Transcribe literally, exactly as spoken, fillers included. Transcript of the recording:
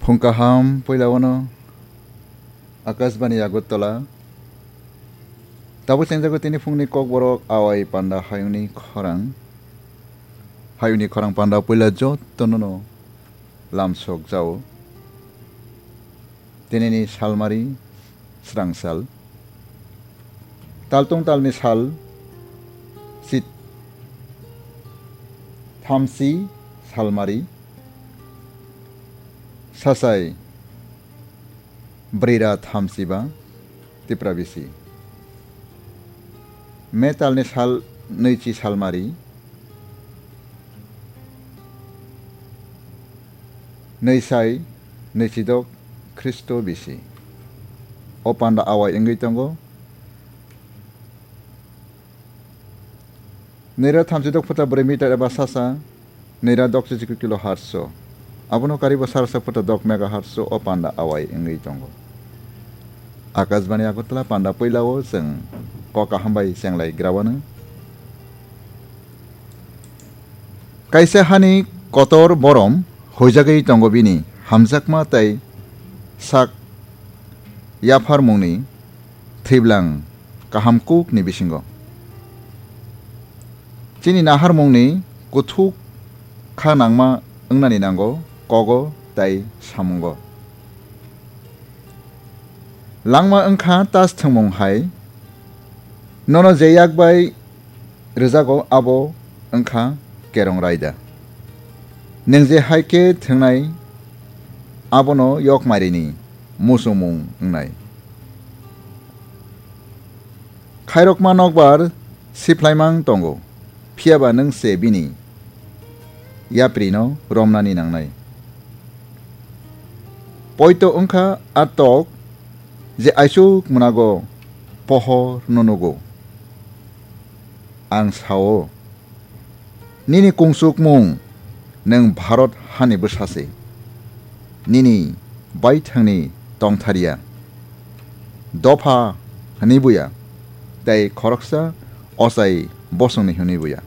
Phung kaham puila wano Akashbani Agartala. Tabuk chengjago tini phungni kokborok awai panda hayungni khorang. Hayungni khorang panda puila jotono no lamsok jao. Tinini salmari srang sal. Taltung talni sal sit thamsi salmari sasai brira thamsiba Tipra bisi. Me talni sal nwichi salmari nwisai nwichidok Khristo bisi. O panda awai wngwi tongo. Nira thamchidok phuta brwi meter eba sasa, nira dok chichikwi kilo harso. Abono karibo sarsa phuta dok mega harso o panda awai wngwi tongo. Akashbani Agartala panda puilao chwng kok kaham bai chenglai grawano. Kaisa hani kotor borom huijagwi tongo bini hamjakma tei sak yapharmungni thwiblang kaham kukni bisingo. Chini naharmungni kuthuk kha nangma wngnani nango kogo tei samungo. Langma wngkha tas thwngmung hai, nono je yak bai rwjago abo wngkha kerong raida. Nwng je hai khe thwngnai abono yok mairini muchungmung wngnai. Khairokma nokbar siphlaimang tongo, phiyaba nwng se bini yaprino romnani nangnai. Poito wngkha a tok je aisuk mwnago pohor no nugo. Ang sao, nini kungsukmung nwng Bharat hani bwsa se, nini baithangni tongthariya, dopha hwnwi buya, tei khoroksa ochai bosongni hwnwi buya.